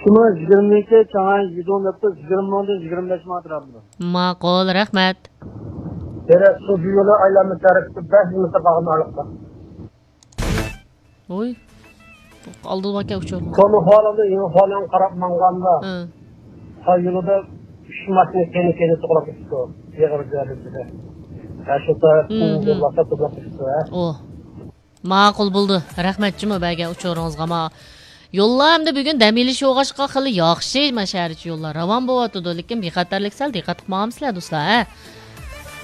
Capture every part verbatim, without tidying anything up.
يىگىرمە ئىككى، چاڭئەن يىدۇ نۆپتە يىگىرمە مىڭدىن يىگىرمە بەش مىڭ ئەتراپىدا. ماقۇل، رەھمەت. دېرەك سۇ يولى ئايلانما تەرەپتە بەش مىنۇتتا قالغان ئارىلىقتا. ۋوي. ئالدىدا باركەن ئۇچۇر. كونا خالىدا يېڭى خالىغا قاراپ ماڭغاندا، ھە. تا يولىدا ئۈچ ماشىنا كەينى-كەينى توغراپ كېتىپتۇ. ئېغىر دەرىجىدە. ھە، شۇ تەرەپتىن يوللاردا توغراپ كېتىپتۇ، ھە. ئوھ. ماقۇل بولدى. رەھمەت جۇمۇ بەرگەن ئۇچۇرىڭىزغا. ما يوللار ئەمدى بۈگۈن دەم ئېلىش بولغاچقا خېلى ياخشى، ما شەھەر ئىچى يوللار راۋان بولۇۋاتىدۇ. لېكىن بىخەتەرلىك سەل دىققەت قىلىپ ماڭامسىلەر، دوستلار، ھە؟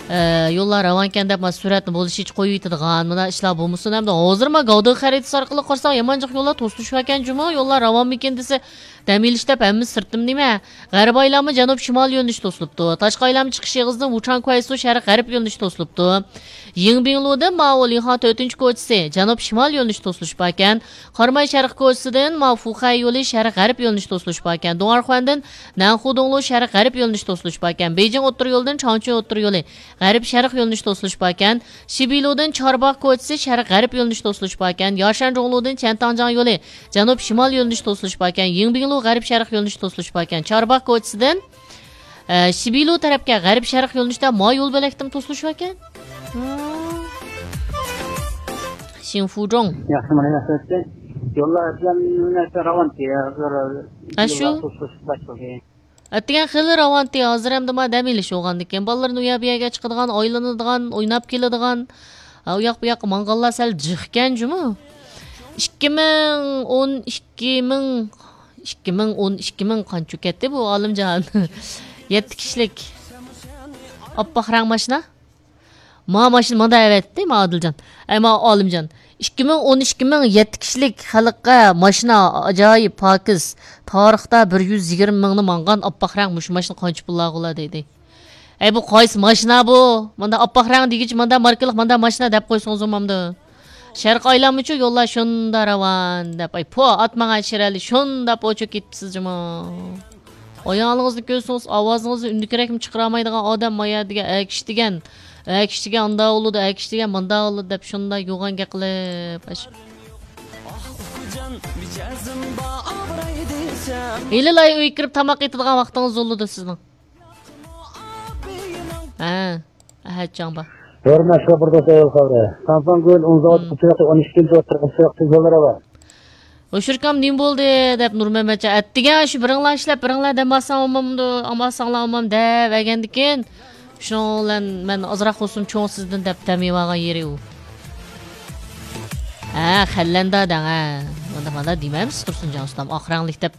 ئە، يوللار راۋانكەن دەپ، ما سۈرئەتنى بولۇشىچە قويۇۋېتىدىغان، مۇنداق ئىشلار بولمىسۇن. ئەمدى ھازىر ما گاۋدىغا خەرىتىسى ئارقىلىق قارىساق، يامان جىق يوللار توسۇلۇشۇۋاتكەن جۇمۇ، يوللار راۋانمىكىن دېسە، دەم ئېلىش دەپ ھەممىسى سىرتتىمۇ نېمە؟ غەربىي ئايلانما جەنۇب شىمال يۆنىلىشى توسۇلۇپتۇ. تاشقى ئايلانما چىقىش ئېغىزىدىن ۋۇچاڭ كۇەيسۇ شەرق غەرب يۆنىلىشى توسۇلۇپتۇ. يىڭبىڭلۇدىن ماۋۇ لىڭخاڭ تۆتىنچى كوچىسى جەنۇب شىمال يۆنىلىشى توسۇلۇشۇپ باركەن. قاراماي شەرق كوچىسىدىن ماۋۇ فۇخەي يولى شەرق غەرب يۆنىلىشى توسۇلۇشۇپ باركەن. دۇڭئارخۇەندىن نەنخۇدۇڭلۇ شەرق غەرب يۆنىلىشى توسۇلۇشۇپ باركەن. بېيجىڭ ئوتتۇرا يولىدىن چاڭچۈن ئوتتۇرا يولى غەرب شەرق يۆنىلىشى توسۇلۇشۇپ باركەن. شىبىلۇدىن چارباغ كوچىسى شەرق غەرب يۆنىلىشى توسۇلۇشۇپ باركەن. ياشەن جۇڭلۇدىن چيەنتاڭجياڭ يولى جەنۇب شىمال يۆنىلىشى توسۇلۇشۇپ باركەن. يىڭبىڭلۇ غەرب شەرق يۆنىلىشى توسۇلۇشۇپ باركەن. چارباغ كوچىسىدىن، ئە، شىبىلۇ تەرەپكە غەرب شەرق يۆنىلىشتە ما يول بۆلەكتىمۇ توسۇلۇشۇپ باركەن. شىنفۇجۇڭ. ياخشى، مانا ياخشى ئۆتتى. يوللار ئەسلەن راۋانتى. ھە، شۇ. يوللار توسۇلۇشۇپ باشلىدى. ئەتىگەن خېلى راۋانتى، ھازىر ئەمدى ما دەم ئېلىش بولغاندىكىن، بالىلىرىنى ئۇ يەر بۇ يەرگە چىقىدىغان، ئايلىنىدىغان، ئويناپ كېلىدىغان، ئا، ئۇ ياق بۇ ياققا ماڭغانلار سەل جىقكەن جۇمۇ. ئىككى مىڭ ئون ئىككى مىڭ، ئىككى مىڭ ئون ئىككى مىڭ قانچە كەتتى بۇ ئالىمجان؟ يەتتە كىشىلىك ئاپئاق رەڭ ماشىنا. ما ماشىنا مانا ئەۋەتتى، ما ئادىلجان. ئەي، ما ئالىمجان. ئىككى مىڭ ئون ئىككى مىڭ يەتتە كىشىلىك خەلققە ماشىنا ئاجايىپ پاكىز. تارىختا بىر يۈز يىگىرمە مىڭنى ماڭغان ئاپئاق رەڭ مۇشۇ ماشىنا قانچە پۇللارغۇلا دەيدۇ. ئەي، بۇ قايسى ماشىنا بۇ؟ مانا ئاپئاق رەڭ دېگۈچە مانا ماركىلىق مانا ماشىنا دەپ قويسىڭىز بولمامدۇ؟ شەرقىي ئايلانمىچۇ يوللار شۇندا راۋان دەپ. ئەي، پو، ئاتماڭ ئەشىرەلى شۇندا پوچۇ كېتىپسىز جۇمۇ. ئايالىڭىزنى كۆرسىڭىز، ئاۋازىڭىزنى ئۈندىكرەكمۇ چىقىرالمايدىغان ئادەم مايا دېگەن، ئەكىش دېگەن، ئەكىش دېگەن ئاندا بولىدۇ، ئەكىش دېگەن ماندا بولىدۇ دەپ شۇنداق يوغان گەپ قىلىپ، ئاش-، ھېلىلا ئۆيگە كىرىپ تاماق ئېتىدىغان ۋاقتىڭىز بولىدۇ سىزنىڭ. ھە، ئەھەتجان بار. ھۆرمەتلىك بىر دوست ئايال خەۋىرى. سامسۇڭ گۈل ئون زاۋۇت ئۇچرىقى ئون ئىككىنچى ئوتتۇرا ئۇچرىقى يوللىرى بار. ھوشۇركام نېمە بولدى دەپ نۇرمەمەتجان ئەتىگەن شۇ بىرىڭلار ئىشلەپ بىرىڭلار دەم ئالساڭ بولمامدۇ، ئالماساڭلار بولمام دەپ ئەگەندىكىن شۇنىڭ بىلەن مەن ئازراق بولسىمۇ چوڭ سىزدىن دەپ دەم ئېلىۋالغان يېرى ئۇ. ھە، خەللەندە دەڭ ھە. مانداق مانداق دېمەمسىز تۇرسۇنجان ئۇستام، ئاق رەڭلىك دەپ.